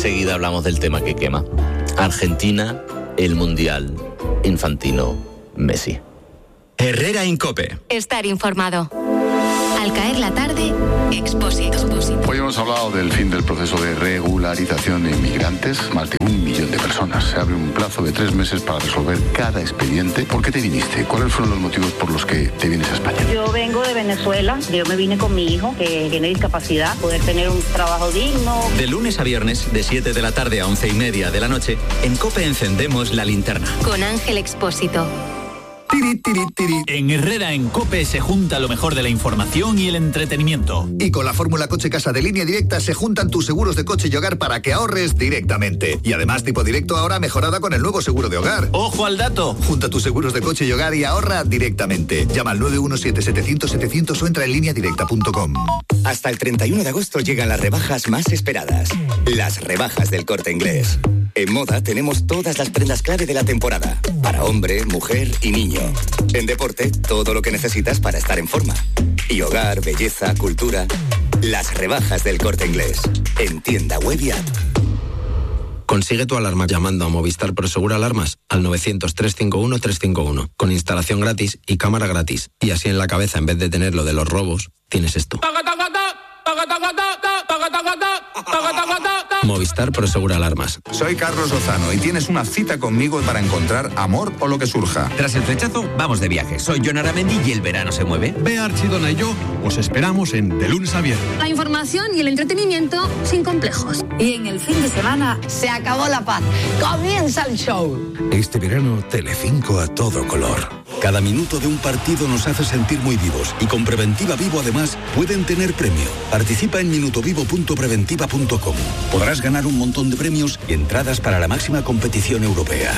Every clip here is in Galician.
enseguida hablamos del tema que quema. Argentina, el Mundial infantino, Messi. Herrera en COPE. Estar informado. Al caer la tarde, Expósito. Hoy hemos hablado del fin del proceso de regularización de inmigrantes. Más de 1 millón de personas. Se abre un plazo de 3 meses para resolver cada expediente. ¿Por qué te viniste? ¿Cuáles fueron los motivos por los que te vienes a España? Yo vengo de Venezuela. Yo me vine con mi hijo, que tiene discapacidad, poder tener un trabajo digno. De lunes a viernes, de 7 de la tarde a 11:30 de la noche, en COPE encendemos la linterna. Con Ángel Expósito. En Herrera en COPE se junta lo mejor de la información y el entretenimiento. Y con la fórmula Coche Casa de Línea Directa se juntan tus seguros de coche y hogar para que ahorres directamente. Y además Tipo Directo ahora mejorada con el nuevo seguro de hogar. ¡Ojo al dato! Junta tus seguros de coche y hogar y ahorra directamente. Llama al 917-700-700 o entra en lineadirecta.com. Hasta el 31 de agosto llegan las rebajas más esperadas. Las rebajas del Corte Inglés. En moda tenemos todas las prendas clave de la temporada. Para hombre, mujer y niño. En deporte, todo lo que necesitas para estar en forma. Y hogar, belleza, cultura. Las rebajas del Corte Inglés. En tienda web y app. Consigue tu alarma llamando a Movistar Prosegur Alarmas al 900-351-351. Con instalación gratis y cámara gratis. Y así en la cabeza, en vez de tener lo de los robos, tienes esto. Movistar Prosegur Alarmas. Soy Carlos Lozano y tienes una cita conmigo para encontrar amor o lo que surja. Tras el flechazo, vamos de viaje. Soy Jon Aramendi y el verano se mueve. Bea Archidona y yo os esperamos en De Lunes a Viernes. La información y el entretenimiento sin complejos. Y en el fin de semana se acabó la paz. Comienza el show. Este verano, Telecinco a todo color. Cada minuto de un partido nos hace sentir muy vivos y con Preventiva Vivo además pueden tener premio. Participa en minutovivo.preventiva.com. Podrás ganar un montón de premios y entradas para la máxima competición europea.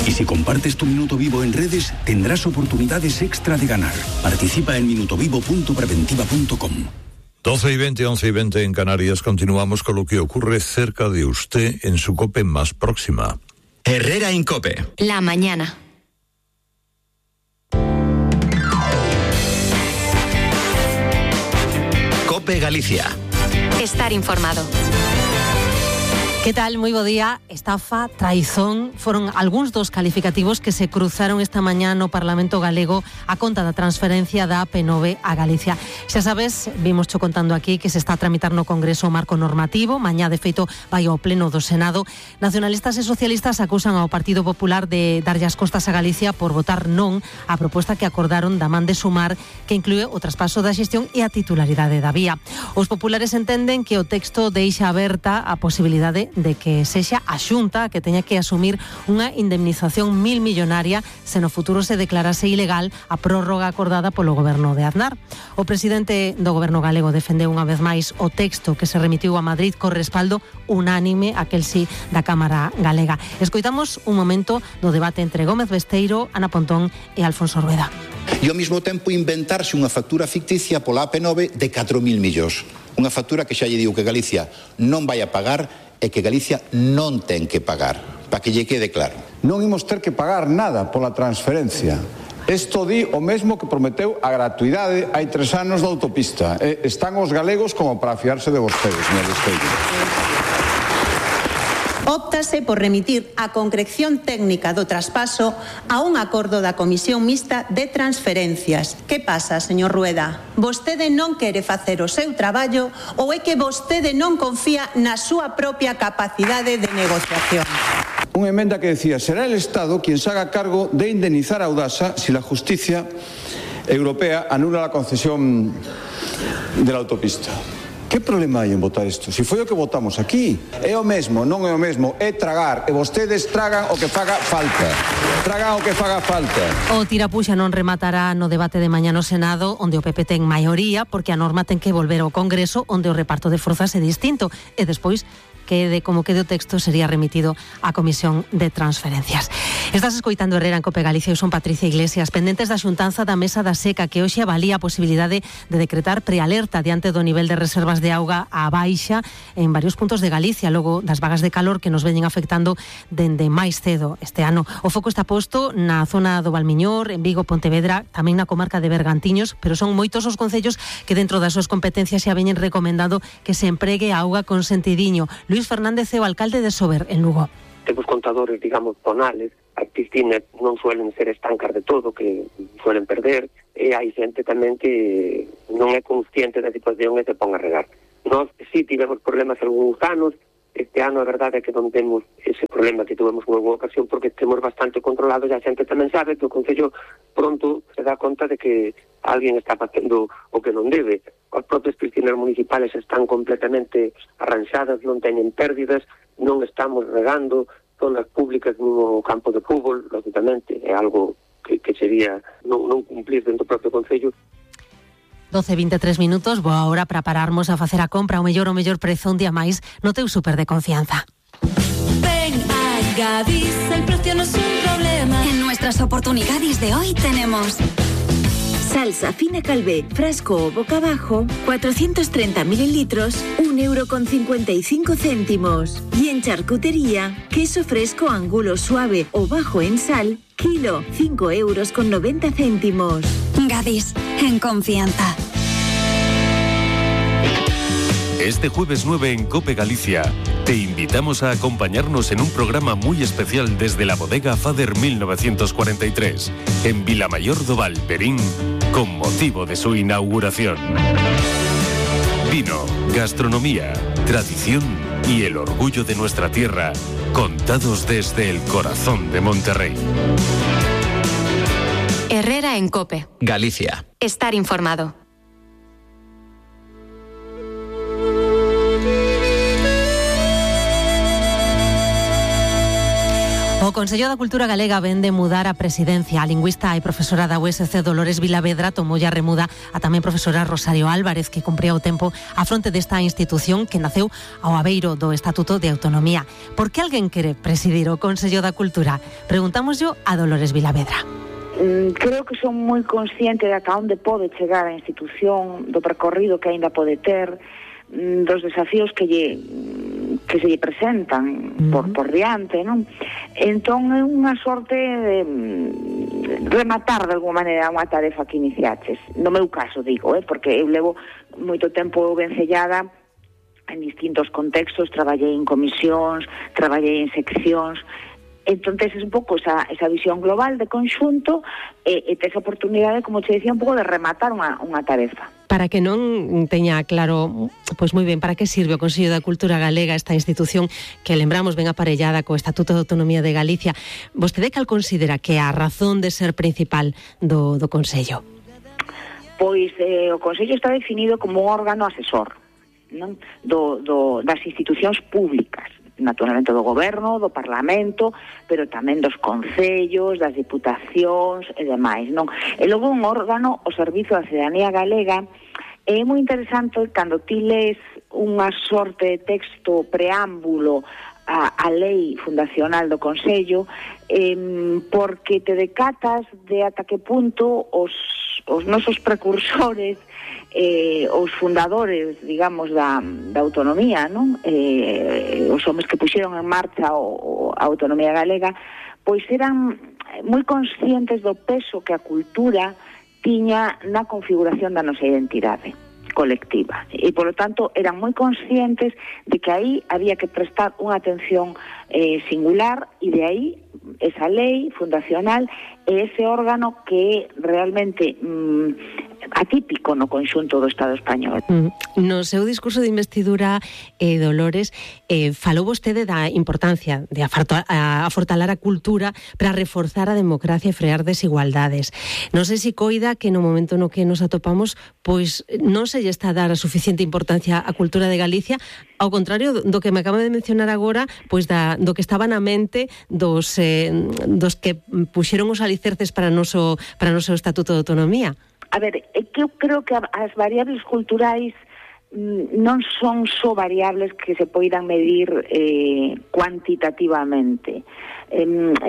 Y si compartes tu Minuto Vivo en redes, tendrás oportunidades extra de ganar. Participa en minutovivo.preventiva.com. 12:20, 11:20 en Canarias. Continuamos con lo que ocurre cerca de usted en su COPE más próxima. Herrera en COPE. La mañana. COPE Galicia. Estar informado. Que tal? Moi bo día. Estafa, traizón, foron algúns dos calificativos que se cruzaron esta mañá no Parlamento Galego a conta da transferencia da AP9 a Galicia. Xa sabes, vimos cho contando aquí que se está a tramitar no Congreso o marco normativo, mañá de feito vai ao pleno do Senado. Nacionalistas e socialistas acusan ao Partido Popular de darlle as costas a Galicia por votar non a proposta que acordaron da man de Sumar, que inclúe o traspaso da xestión e a titularidade da vía. Os populares entenden que o texto deixa aberta a posibilidade de que sexa a Xunta que teña que asumir unha indemnización 1.000 millonaria se no futuro se declarase ilegal a prórroga acordada polo goberno de Aznar. O presidente do goberno galego defendeu unha vez máis o texto que se remitiu a Madrid co respaldo unánime, aquel sí, da Cámara Galega. Escoitamos un momento do debate entre Gómez Besteiro, Ana Pontón e Alfonso Rueda. E ao mesmo tempo inventarse unha factura ficticia pola AP9 de 4.000 millóns. Unha factura que xa lle digo que Galicia non vai a pagar e que Galicia non ten que pagar, para que lle quede claro. Non imos ter que pagar nada pola transferencia. Isto di o mesmo que prometeu a gratuidade hai 3 anos da autopista. Están os galegos como para fiarse de vostedes, señor Besteiro. Óptase por remitir a concreción técnica do traspaso a un acordo da Comisión Mixta de Transferencias. Que pasa, señor Rueda? Vostede non quere facer o seu traballo ou é que vostede non confía na súa propia capacidade de negociación? Unha emenda que decía, será el Estado quien se haga cargo de indemnizar a Audasa si la justicia europea anula la concesión de la autopista. Que problema hai en votar isto? Si foi o que votamos aquí. É o mesmo, non é o mesmo, é tragar. E vostedes tragan o que faga falta. Tragan o que faga falta. O tirapuxa non rematará no debate de mañá no Senado, onde o PP ten maioría, porque a norma ten que volver ao Congreso, onde o reparto de forzas é distinto. E despois quede como quede o texto sería remitido á Comisión de Transferencias. Estás escoitando Herrera en COPE Galicia. Eu son Patricia Iglesias, pendentes da xuntanza da Mesa da Seca, que hoxe avalía a posibilidade de decretar prealerta diante do nivel de reservas de auga á baixa en varios puntos de Galicia, logo das vagas de calor que nos veñen afectando dende máis cedo este ano. O foco está posto na zona do Valmiñor, en Vigo, Pontevedra, tamén na comarca de Bergantiños, pero son moitos os concellos que dentro das súas competencias xa veñen recomendando que se empregue a auga con sentidiño. Luis Fernández é o alcalde de Sober, en Lugo. Temos contadores, digamos, tonales. As piscinas non suelen ser estancas de todo, que suelen perder, e hai xente tamén que non é consciente da situación e se pon a regar. Nós sí tivemos problemas algúns anos. Este ano a verdade é que non temos ese problema que tuvemos en alguna ocasión, porque temos bastante controlado, e a xente tamén sabe que o Concello pronto se dá conta de que alguén está facendo o que non debe. As propias piscinas municipales están completamente arranxadas, non teñen pérdidas, non estamos regando, zonas públicas no campo de fútbol, lógicamente, é algo que sería non cumplir dentro do propio Concello. 12:23 minutos, boa hora para pararmos a facer a compra, o mellor prezo un día máis no teu super de confianza. Ven a Gadis, el precio no es un problema. En nuestras oportunidades de hoy tenemos salsa fina Calvé, frasco o boca abajo, 430 mililitros, 1,55 €. Y en charcutería, queso fresco angulo suave o bajo en sal, kilo, 5,90 €. Gadis, en confianza. Este jueves 9 en COPE Galicia, te invitamos a acompañarnos en un programa muy especial desde la bodega Fader 1943, en Vilamayor do Val, Verín, con motivo de su inauguración. Vino, gastronomía, tradición y el orgullo de nuestra tierra, contados desde el corazón de Monterrey. Herrera en COPE. Galicia. Estar informado. O Consello da Cultura Galega ven de mudar a presidencia. A lingüista e profesora da USC Dolores Vilavedra tomou a remuda a tamén profesora Rosario Álvarez, que cumpría o tempo a fronte desta institución que naceu ao abeiro do Estatuto de Autonomía. Por que alguén quere presidir o Consello da Cultura? Preguntámoslo a Dolores Vilavedra. Creo que son moi consciente de ata onde pode chegar a institución, do percorrido que aínda pode ter, dos desafíos que se lle presentan por diante, non? Entón é unha sorte de rematar de alguma maneira unha tarefa que iniciaches. No meu caso, digo, porque eu levo moito tempo vencellada en distintos contextos, traballei en comisións, traballei en seccións. Entonces es un pouco esa visión global de conxunto e tes a oportunidade, como te decía, un pouco de rematar unha tarefa. Para que non teña claro, pois moi ben, para que sirve o Consello da Cultura Galega, esta institución que lembramos ben aparellada co Estatuto de Autonomía de Galicia? Vostede cal considera que é a razón de ser principal do Consello? Pois o Consello está definido como un órgano asesor, non? Das institucións públicas, naturalmente do goberno, do parlamento, pero tamén dos concellos, das diputacións e demais, non? E logo un órgano ao servizo da cidadanía galega. É moi interesante cando ti lees unha sorte de texto preámbulo a lei fundacional do Consello, porque te decatas de ata que punto os nosos precursores, os fundadores, digamos, da autonomía, non? Os homes que puxeron en marcha a autonomía galega, pois eran moi conscientes do peso que a cultura tiña na configuración da nosa identidade colectiva. E, polo tanto, eran moi conscientes de que aí había que prestar unha atención singular, e de aí esa lei fundacional e ese órgano que é realmente atípico no conxunto do Estado español. No seu discurso de investidura, Dolores, falou vostede da importancia de afortalar a cultura para reforzar a democracia e frear desigualdades. Non sei se coida que no momento no que nos atopamos, pois non se lle está a dar a suficiente importancia á cultura de Galicia, ao contrario do que me acaba de mencionar agora, pois do que estaba na mente dos que puxeron os alicerces para o noso Estatuto de Autonomía. A ver, é que eu creo que as variables culturais non son só variables que se poidan medir cuantitativamente.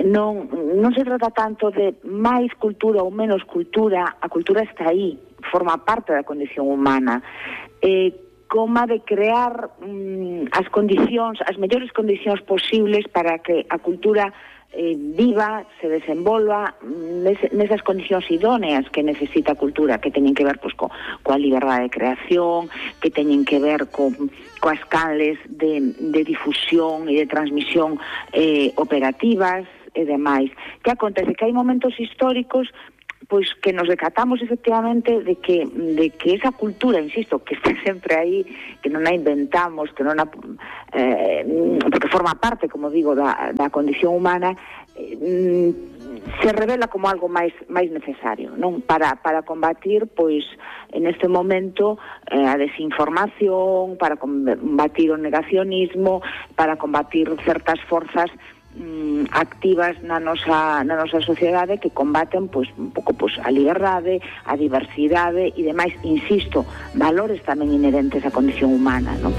Non se trata tanto de máis cultura ou menos cultura. A cultura está aí, forma parte da condición humana. como de crear as mellores condicións posibles para que a cultura viva, se desenvolva nesas condicións idóneas que necesita a cultura, que teñen que ver coa liberdade de creación, que teñen que ver coas canles de difusión e de transmisión operativas e demais. Que acontece? Que hai momentos históricos pois que nos decatamos efectivamente de que esa cultura, insisto, que está sempre aí, que non a inventamos, que non a porque forma parte, como digo, da condición humana, se revela como algo máis necesario, non? Para combatir, pois, en este momento, a desinformación, para combatir o negacionismo, para combatir certas forzas activas na nosa sociedade que combaten un pouco a liberdade, a diversidade e demais, insisto, valores tamén inherentes á condición humana, non?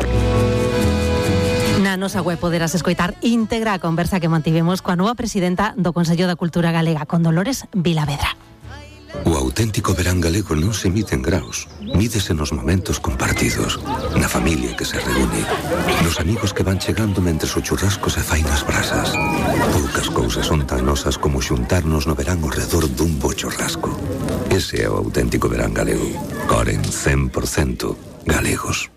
Na nosa web poderás escoitar íntegra a conversa que mantivemos coa nova presidenta do Consello da Cultura Galega, con Dolores Vilavedra. O auténtico verán galego non se mide en graus, mídese nos momentos compartidos, na familia que se reúne, nos amigos que van chegando mentres o churrasco se fai nas brasas. Poucas cousas son tan nosas como xuntarnos no verán ao redor dun bo churrasco. Ese é o auténtico verán galego. Coren 100% galegos.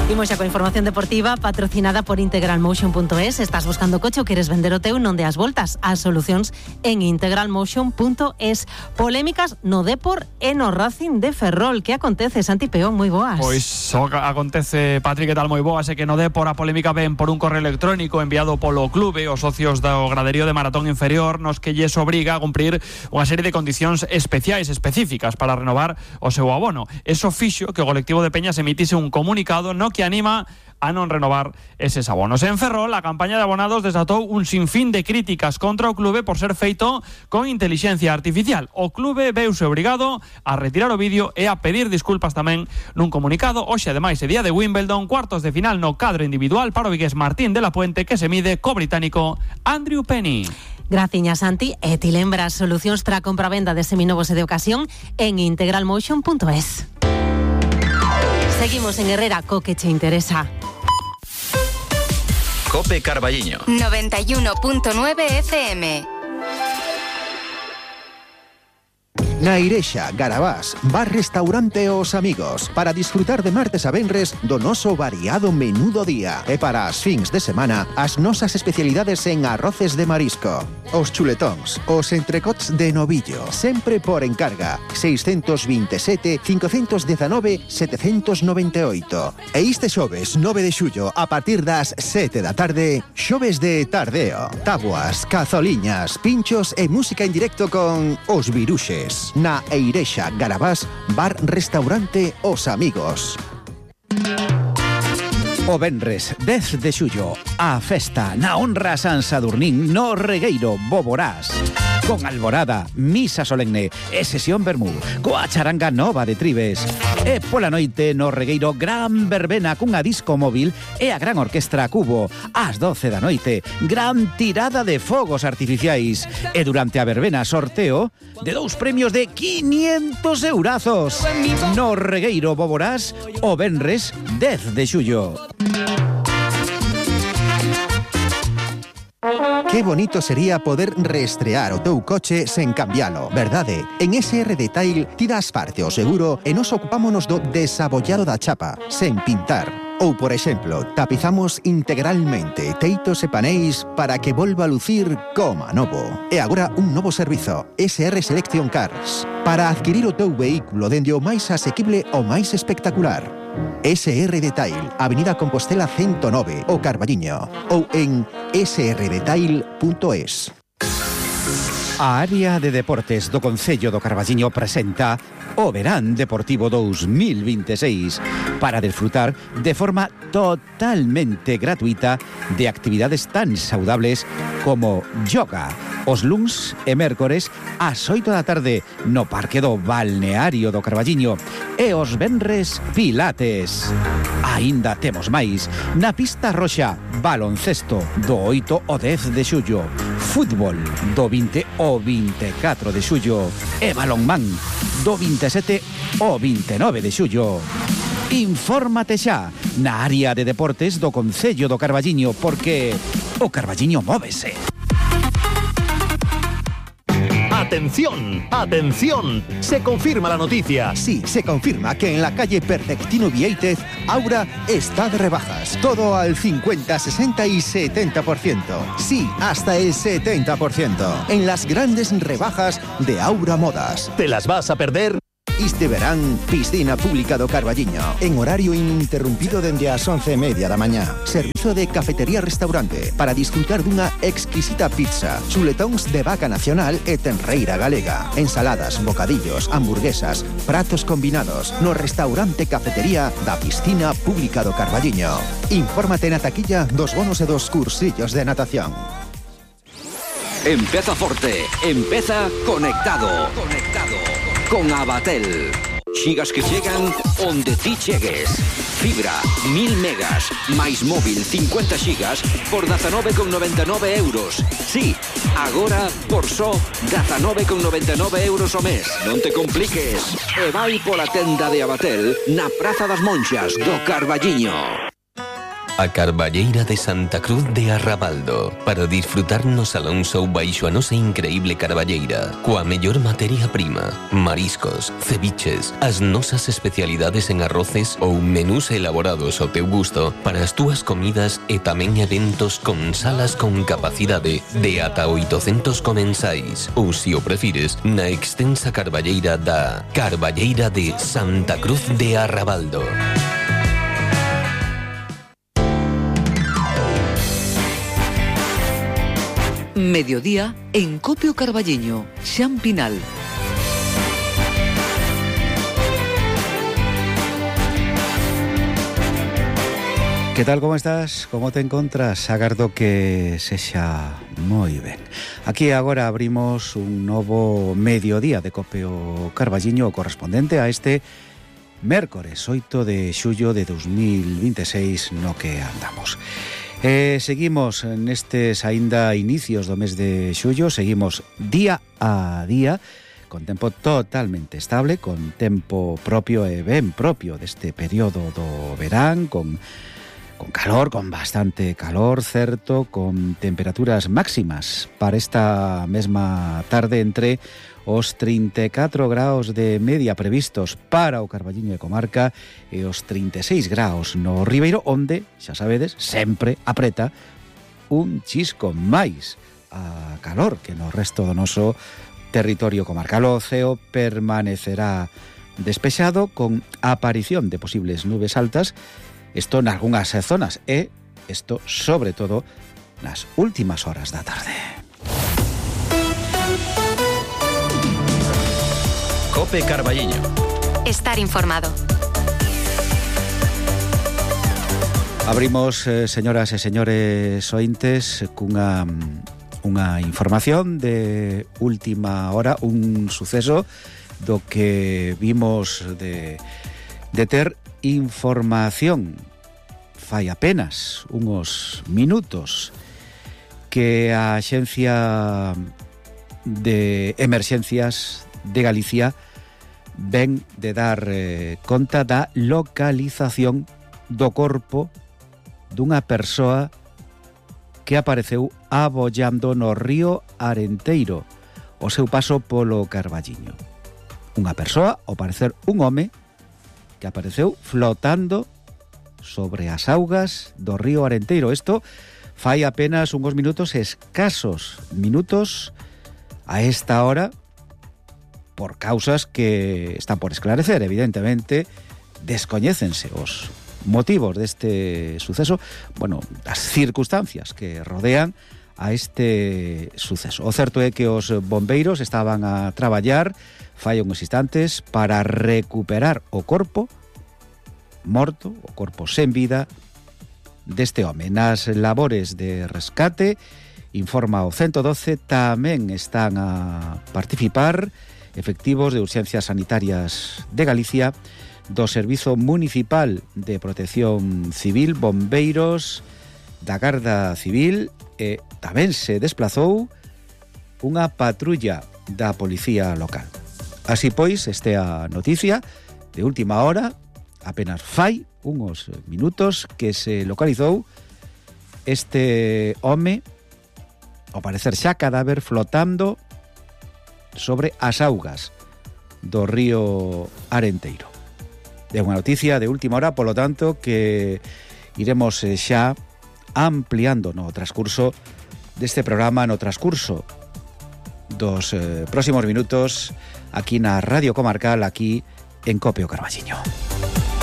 Imos xa coa información deportiva patrocinada por integralmotion.es. Estás buscando coche ou queres vender o teu? Non deas voltas. As solucións en integralmotion.es. Polémicas no Depor e no Racing de Ferrol. Que acontece, Santi Peón? Moi boas. Pois acontece, Patri, que tal? Moi boas. É que no Depor a polémica ven por un correo electrónico enviado polo clube os socios do graderío de Maratón Inferior, nos que lles obriga a cumprir unha serie de condicións especiais, específicas para renovar o seu abono. Eso fixo que o colectivo de Peñas emitise un comunicado no que anima a non renovar eses abonos. En Ferrol, a campaña de abonados desatou un sinfín de críticas contra o clube por ser feito con intelixencia artificial. O clube veuse obrigado a retirar o vídeo e a pedir disculpas tamén nun comunicado. Hoxe, ademais, é día de Wimbledon, cuartos de final no cadro individual para o vigués Martín de la Puente, que se mide co británico Andrew Penny. Graciña, Santi. E ti lembras solucións para a compra-venda de seminovos e de ocasión en integralmotion.es. Seguimos en Herrera, co que che interesa. Cope Carballiño 91.9 FM. Na Irexa, Garabás, bar restaurante Os Amigos, para disfrutar de martes a venres do noso variado menú do día. E para as fins de semana, as nosas especialidades en arroces de marisco. Os chuletóns, os entrecots de novillo, sempre por encarga. 627 519 798. E este xoves 9 de xullo, a partir das 7 da tarde, xoves de tardeo. Tabuas, cazoliñas, pinchos e música en directo con Os Viruxes. Na Eirexa, Garabás, bar restaurante Os Amigos. O venres 10 de xullo, a festa na honra a San Sadurnín no Regueiro Boborás. Con alborada, misa solemne e sesión vermú, coa charanga nova de Tribes. E pola noite no Regueiro gran verbena cunha disco móvil e a gran orquestra Cubo. Ás 12 da noite, gran tirada de fogos artificiais. E durante a verbena sorteo de 2 premios de 500 eurazos. No Regueiro Boborás, o venres 10 de xullo. Que bonito sería poder reestrear o teu coche sen cambialo, verdade? En SR Detail ti das parte o seguro e nos ocupámonos do desabollado da chapa, sen pintar. Ou, por exemplo, tapizamos integralmente teitos e paneis para que volva a lucir como novo. E agora un novo servizo, SR Selection Cars, para adquirir o teu vehículo dende o máis asequible ao máis espectacular. SR Detail, Avenida Compostela 109, o Carballiño, ou en srdetail.es. A área de deportes do Concello do Carballiño presenta o Verán Deportivo 2026 para disfrutar de forma totalmente gratuita de actividades tan saudables como yoga, os luns e mércores ás 8 da tarde no Parque do Balneario do Carballiño e os venres pilates. Aínda temos máis na pista roxa baloncesto do 8 ao 10 de xullo, Fútbol do 20 ao 24 de xullo e balonmán do 27 ao 29 de xullo. Infórmate xa na área de deportes do Concello do Carballiño, porque o Carballiño móvese. ¡Atención! ¡Atención! Se confirma la noticia. Sí, se confirma que en la calle Perfectino Vieitez, Aura está de rebajas. Todo al 50, 60 y 70%. Sí, hasta el 70%. En las grandes rebajas de Aura Modas. ¿Te las vas a perder? Este verán, piscina pública do Carballiño. En horario ininterrumpido dende as 11:30 da mañá. Servizo de cafetería-restaurante para disfrutar dunha exquisita pizza, chuletóns de vaca nacional e tenreira galega. Ensaladas, bocadillos, hamburguesas, pratos combinados no restaurante cafetería da piscina pública do Carballiño. Infórmate na taquilla dos bonos e dos cursillos de natación. Empeza forte, empeza conectado. Con Abatel. Xigas que chegan onde ti chegues. Fibra, 1000 megas, máis móvil 50 xigas por 19,99 euros. Sí, agora por só 19,99 euros ao mes. Non te compliques. E vai pola tenda de Abatel na Praza das Monxas do Carballiño. A Carballeira de Santa Cruz de Arrabaldo, para disfrutar no Salón Show baixo a nosa increíble carballeira, coa mellor materia prima, mariscos, ceviches, as nosas especialidades en arroces ou menús elaborados ao teu gusto para as túas comidas e tamén eventos con salas con capacidade de ata 800 comensais, ou se o prefires, na extensa carballeira da Carballeira de Santa Cruz de Arrabaldo. Mediodía en Copio Carballiño, Xan Pinal. Que tal, como estás? Como te encontras? Agardo que sexa moi ben. Aquí agora abrimos un novo mediodía de Copio Carballiño correspondente a este mércores 8 de xullo de 2026 no que andamos. Seguimos nestes aínda inicios do mes de xullo, seguimos día a día, con tempo totalmente estable, con tempo propio e ben propio deste período do verán, con calor, con bastante calor, certo, con temperaturas máximas para esta mesma tarde entre os 34 graus de media previstos para o Carballiño e comarca e os 36 graus no Ribeiro, onde, xa sabedes, sempre apreta un chisco máis a calor que no resto do noso territorio comarcal. O ceo permanecerá despexado con aparición de posibles nubes altas, isto nalgunhas zonas e isto sobre todo nas últimas horas da tarde. Cope Carballiño. Estar informado. Abrimos, señoras e señores ointes, cunha información de última hora, un suceso do que vimos de ter información fai apenas unos minutos, que a Axencia de Emerxencias de Galicia ven de dar conta da localización do corpo dunha persoa que apareceu abollando no río Arenteiro o seu paso polo Carballiño. Unha persoa, ao parecer un home, que apareceu flotando sobre as augas do río Arenteiro. Isto fai apenas uns minutos, escasos minutos a esta hora, por causas que están por esclarecer. Evidentemente, descoñécense os motivos deste suceso, bueno, as circunstancias que rodean a este suceso. O certo é que os bombeiros estaban a traballar fai uns instantes para recuperar o corpo morto, o corpo sen vida deste home. Nas labores de rescate, informa o 112, tamén están a participar efectivos de Urxencias Sanitarias de Galicia, do Servizo Municipal de Protección Civil, bombeiros da Garda Civil, e tamén se desplazou unha patrulla da policía local. Así pois, este a noticia de última hora, apenas fai uns minutos que se localizou este home, ao parecer xa cadáver, flotando sobre as augas do río Arenteiro. É unha noticia de última hora, polo tanto, que iremos xa ampliando no transcurso deste programa, no transcurso dos próximos minutos aquí na Radio Comarcal, aquí en Cope o Carballiño.